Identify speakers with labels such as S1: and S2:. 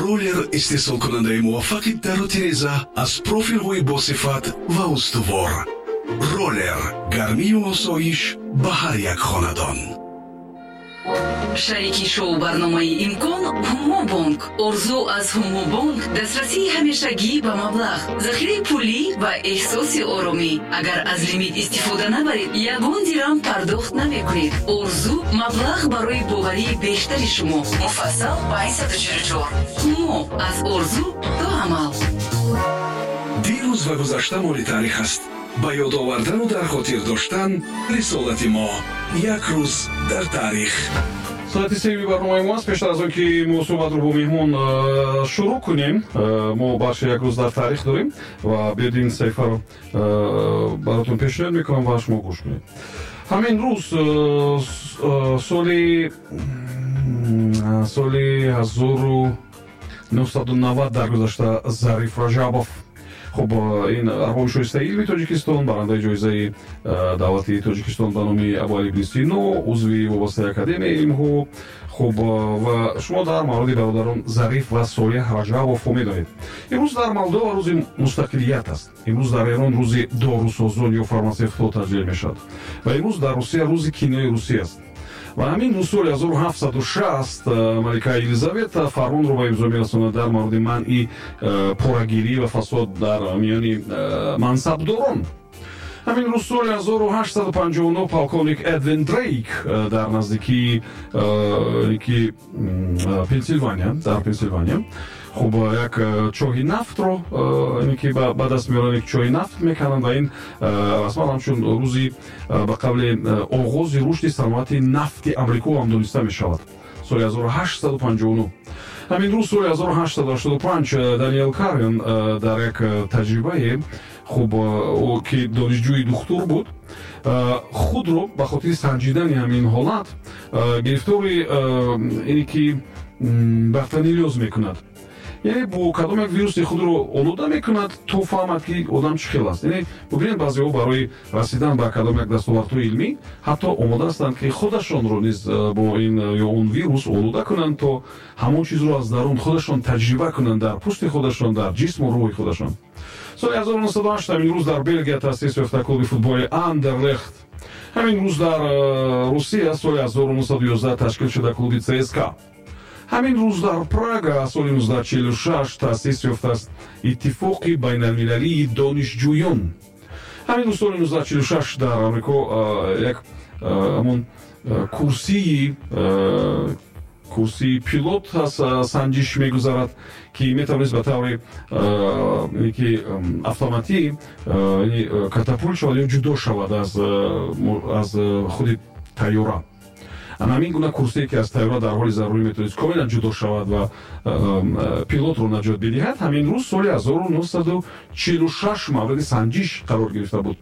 S1: Роллер, истеҳсолкунандаи муваффақи дару тиреза аз профилҳои босифат ва устувор. Роллер, гармию осоиш ба ҳар як хонадон.
S2: Шарики шоу барномаи «Имкон» Ҳумобонк. Орзу аз Ҳумобонк: дастрасии ҳамешагӣ ба маблағ, захираи пулӣ ва эҳсоси оромӣ. Агар аз лимит истифода набаред, ягон дирам пардохт намекунед. Орзу: маблағ барои боварии бештари шумо. Муфассал 544. Ҳумо: аз орзу то амал.
S1: Дирӯз ва гузашта моли таърих аст. Ба ёд овардану дар хотир доштан рисолати мо. Як рӯз дар таърих.
S3: Соати сеюми барномаи мо аст. Пештар аз он ки мо суҳбатро бо меҳмон шурӯъ кунем, мо бахши «Як рӯз дар таърих» дорем ва биёд, ин саҳифаро баротон пешниҳод мекунам ва шумо гӯш кунед. Ҳамин рӯз, соли 1990 даргузашта Зариф Раҷабов. Хуб, ин арбоби шоистаи илми Тоҷикистон, барандаи ҷоизаи давлатии Тоҷикистон ба номи Абуалӣ ибни Сино, узви вобастаи Академияи илмҳо. Хуб, ва шумо дар мавриди бародарон Зариф ва Солеҳ Раҷабовҳо медонед. Имрӯз дар Молдова рӯзи мустақилият аст. Имрӯз дар Эрон рӯзи дорусозон ё фармасевтҳо таҷлил мешавад ва имрӯз дар Русия рӯзи кинои русӣ аст. Ва ҳамин рӯз, соли 1760, малика Елизавета фармонро ба имзо мерасонад дар мавриди манъи порагирӣ ва фасод дар миёни мансабдорон. Ҳамин рӯз, соли 1859, полковник Эдвин Дрейк дар наздикии ки Пенсилвания, дар Пенсилвания, хуб, як чоҳи нафтро ки ба даст меоранд, як чоҳи нафт мекунанд ва ин расман ҳамчун рӯзи, ба қавле, оғози рушди саноати нафти Амрико ҳам дониста мешавад, соли 1859. Ҳамин рӯз, соли 1885, Даниэл Карвин дар як таҷрибае, хуб, ӯ ки донишҷӯи духтур буд, худро ба хотири санҷидани ҳамин ҳолат гирифтори ине ки бартонеллёз мекунад, яъне бо кадом як вируси худро олуда мекунад, то фаҳмад, ки одам чӣ хел аст. Яъне бубинед, баъзеҳо барои расидан ба кадом як дастовардҳои илмӣ ҳатто омода ҳастанд, ки худашонро низ бо ин ё он вирус олуда кунанд, то ҳамон чизро аз дарун худашон таҷриба кунанд, дар пӯсти худашон, дар ҷисму рӯҳи худашон. Соли 1908, ҳамин рӯз дар Белгия таъсис ёфта клуби футболи Андерлехт. Ҳамин рӯз дар Русия соли 1911 ташкил шуда клуби ЦСКА. Ҳамин рӯз дар Прага соли 1946 таъсис ёфтааст Иттифоқи байналмилалии донишҷӯён. Ҳамин рӯз, соли 1946, дар Амрико як ҳамон курсии пилот санҷиш мегузарад, ки метавонист ба таври ки автоматӣ катапулт шавад ё ҷудо шавад аз худи тайёра. Ана ҳамин гуна курсие, ки аз тайёра дар ҳоли зарурӣ метавонист комилан ҷудо шавад ва пилотро наҷот бидиҳад, ҳамин рӯз, соли 1946, мавриди санҷиш қарор гирифта буд.